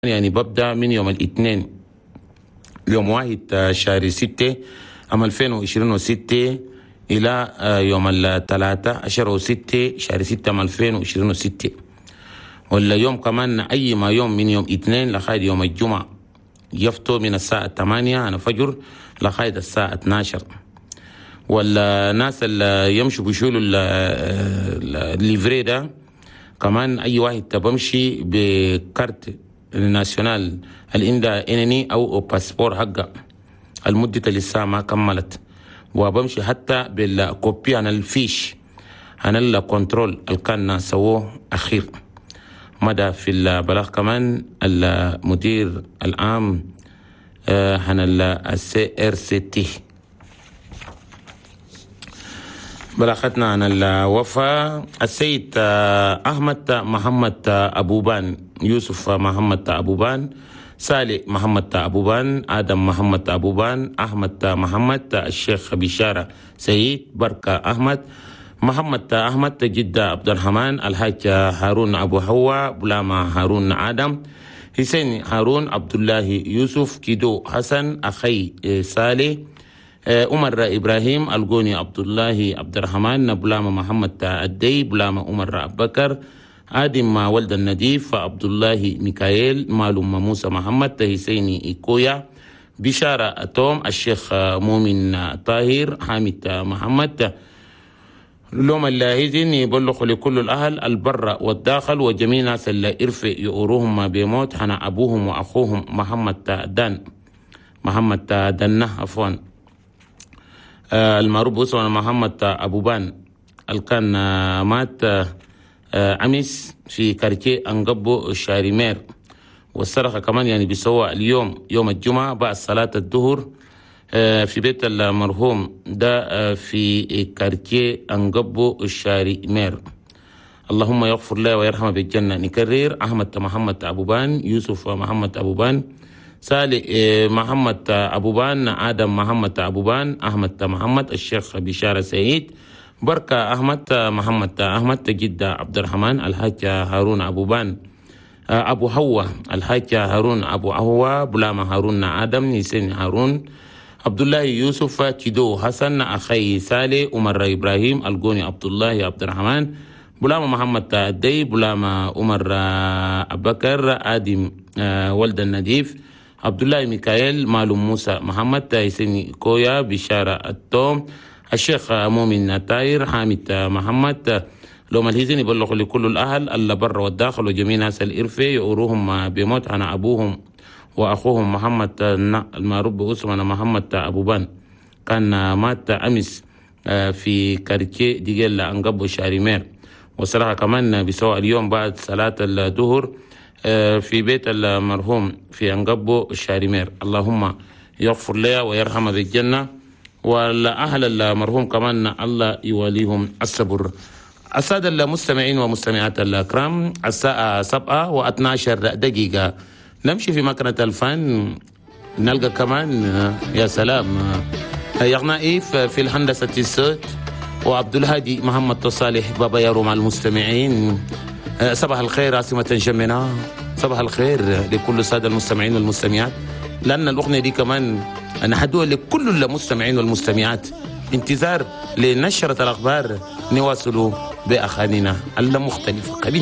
يعني ببدأ من يوم الاثنين يوم 1 شهر 6 عام 2026 إلى يوم الثلاثاء 10 6 شهر 6 عام 2026. ولا يوم كمان أي ما يوم من يوم اثنين لغاية يوم الجمعة يفتو من الساعة 8 أنا فجر لغاية الساعة 12. والناس اللي يمشوا بيشيلوا ال livret ده كمان أي واحد بمشي ب carte nationale اللي عندها أو passeport حقه المدة لسه ما كملت، وبمشي حتى بال copie عن ال fiche عن ال contrôle اللي كان سووه أخير. مدى في البلاغ كمان المدير العام عن ال CRCT. بلاغتنا عن الوفاة السيد أحمد محمد أبوبان، يوسف محمد أبوبان، سالي محمد أبوبان، آدم محمد أبوبان، أحمد محمد، الشيخ بشارة سيد، بركة أحمد، محمد أحمد، جدة عبد الرحمن، الحاج هارون أبو هوا، بلاما هارون آدم، حسين هارون، عبد الله يوسف، كيدو حسن، أخي سالي، عمر إبراهيم، الجوني عبد الله عبد الرحمن، بلاما محمد الدي، بلاما عمر أبو بكر، آدم ولد النديف، عبد الله ميكائيل، مالوم موسى محمد، حسيني إيكويا، بشارة توم، الشيخ مؤمن طاهر، حامد محمد. لوم اللاهزين يبلغ لكل الأهل البر والداخل وجميع ناس اللي إرفع يؤروهم بموت حنا أبوهم وأخوهم محمد دان، محمد دنه عفوا، المعروف باسمه محمد أبوبان، اللي كان مات أمس في quartier أنقبو شاريمير. والصرخة كمان يعني بيسوى اليوم يوم الجمعة بعد صلاة الظهر في بيت المرحوم ده في quartier أنقبو الشاريمير. اللهم يغفر له ويرحمه بالجنة. نكرر: أحمد محمد أبوبان، يوسف محمد أبوبان، سالي محمد أبوبان، آدم محمد أبوبان، أحمد محمد، الشيخ بشارة سعيد، بركة أحمد، محمد أحمد، جدة عبد الرحمن، الحاج هارون أبوبان، أبو هوا، الحاج هارون أبو هوا، بلاما هارون آدم، نسين هارون، عبد الله يوسف، تيدو حسن، أخي سالي، عمر إبراهيم، الجوني عبد الله عبد الرحمن، بلاما محمد الدي، بلاما عمر أبو بكر، آدم ولد النديف، عبد الله ميكائيل، مالوم موسى محمد، حسين كويا، بشارة التوم، الشيخ مؤمن تاير، حامد محمد. لو الهزين يبلغ لكل الأهل اللي بر والداخل وجميع ناس الإرفة يؤروهم بموت عن أبوهم وأخوهم محمد المعروف باسمه محمد أبوبان، كان مات أمس في quartier ديجيلا أنقبو شاريمير. وصراحة كمان بسواء اليوم بعد صلاة الظهر في بيت المرحوم في أنقبو الشاريمير. اللهم يغفر له ويرحمه بالجنة، والأهل المرحوم كمان الله يواليهم الصبر. السادة المستمعين ومستمعات الأكرام، الساعة 7:12 نمشي في مكنة الفن، نلقى كمان يا سلام يغنائي في الهندسة الصوت، وعبد الهادي محمد صالح بابا يارو مع المستمعين. صباح الخير عاصمة جمنا، صباح الخير لكل السادة المستمعين والمستمعات، لأن الأغنية دي كمان أنا هدوها لكل المستمعين والمستمعات. انتظار لنشرة الأخبار، نواصل بأغانينا المختلفة قليل.